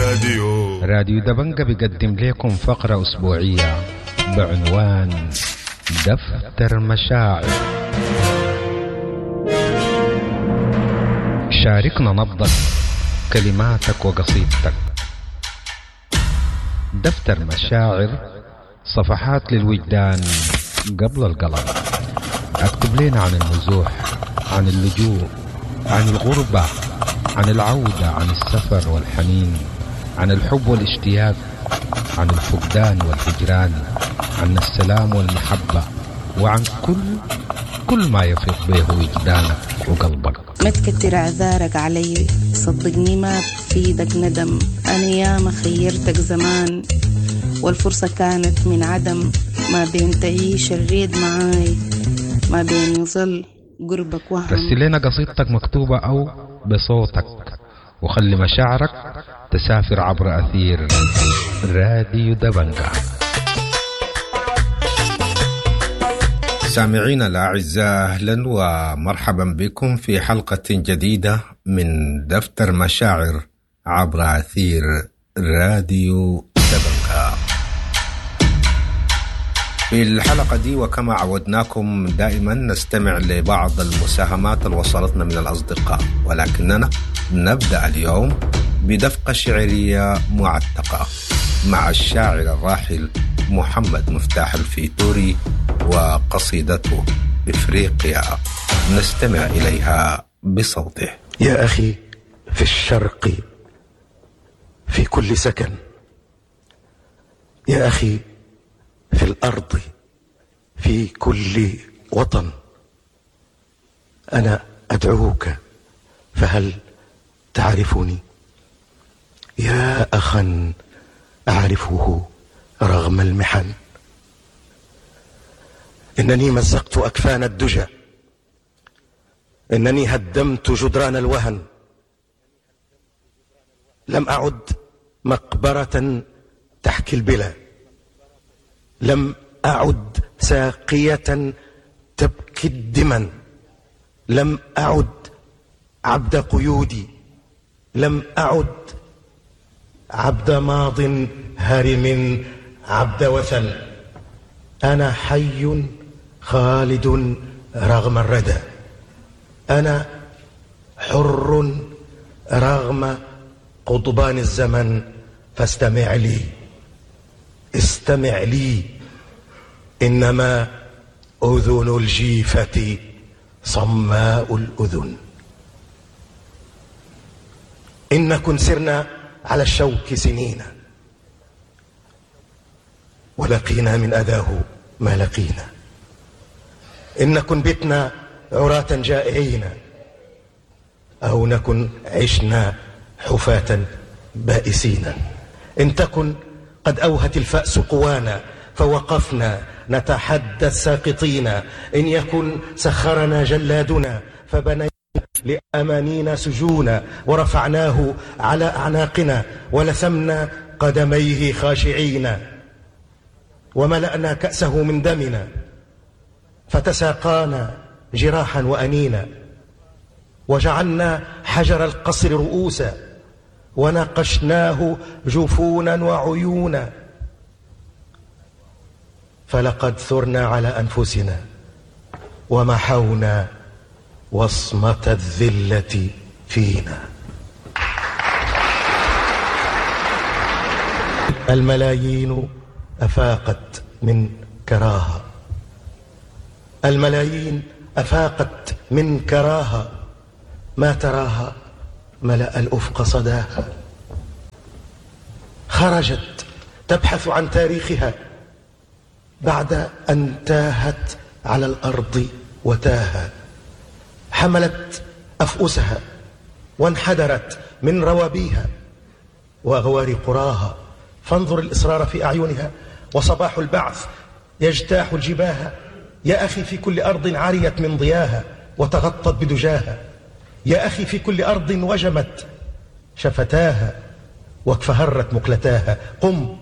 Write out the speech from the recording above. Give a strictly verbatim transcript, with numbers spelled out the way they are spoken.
راديو راديو دبنجة بيقدم لكم فقرة أسبوعية بعنوان دفتر مشاعر. شاركنا نبضك، كلماتك وقصيدتك. دفتر مشاعر، صفحات للوجدان قبل القلم. اكتب لنا عن النزوح، عن اللجوء، عن الغربة، عن العودة، عن السفر والحنين، عن الحب والاشتياق، عن الفقدان والهجران، عن السلام والمحبة، وعن كل كل ما يفيض به وجدانك وقلبك. ما تكتر اعذارك علي، صدقني ما بفيدك ندم. انا ياما خيرتك زمان والفرصة كانت من عدم. ما بين تعيش الريد معاي، ما بين يظل قربك وهم. رسل لنا قصيدتك مكتوبة أو بصوتك، وخلي مشاعرك تسافر عبر أثير راديو دبنجة. سامعينا الأعزاء، أهلا ومرحبا بكم في حلقة جديدة من دفتر مشاعر عبر أثير راديو دبنجة. في الحلقة دي وكما عودناكم دائما نستمع لبعض المساهمات اللي وصلتنا من الأصدقاء، ولكننا نبدأ اليوم بدفقة شعرية معتقة مع الشاعر الراحل محمد مفتاح الفيتوري وقصيدته إفريقيا، نستمع إليها بصوته. يا أخي في الشرق في كل سكن، يا أخي في الأرض في كل وطن، أنا أدعوك فهل تعرفني؟ يا أخا أعرفه رغم المحن. إنني مزقت أكفان الدجى، إنني هدمت جدران الوهن، لم أعد مقبرة تحكي البلا، لم أعد ساقية تبكي الدمن، لم أعد عبد قيودي، لم أعد عبد ماض هرم عبد وثن. أنا حي خالد رغم الردى، أنا حر رغم قضبان الزمن. فاستمع لي، استمع لي، إنما أذن الجيفة صماء الأذن. إن كن سرنا على الشوك سنين، ولقينا من أذاه ما لقينا. إن كن بتنا عراة جائعين، أو نكن عشنا حفاة بائسين. إن تكن قد أوهت الفأس قوانا، فوقفنا نتحدى الساقطين. إن يكن سخرنا جلادنا، فبنينا لأمانينا سجونا، ورفعناه على أعناقنا، ولثمنا قدميه خاشعين، وملأنا كأسه من دمنا، فتساقانا جراحا وأنينا، وجعلنا حجر القصر رؤوسا، وناقشناه جفونا وعيونا. فلقد ثرنا على أنفسنا، ومحونا وصمة الذلة فينا. الملايين أفاقت من كراهة، الملايين أفاقت من كراهة، ما تراها ملأ الأفق صداها. خرجت تبحث عن تاريخها بعد أن تاهت على الأرض وتاها. حملت أفؤسها وانحدرت من روابيها وأغوار قراها. فانظر الإصرار في أعينها، وصباح البعث يجتاح الجباه. يا أخي في كل أرض عريت من ضياها وتغطت بدجاها. يا أخي في كل أرض وجمت شفتاها واكفهرت مقلتاها. قم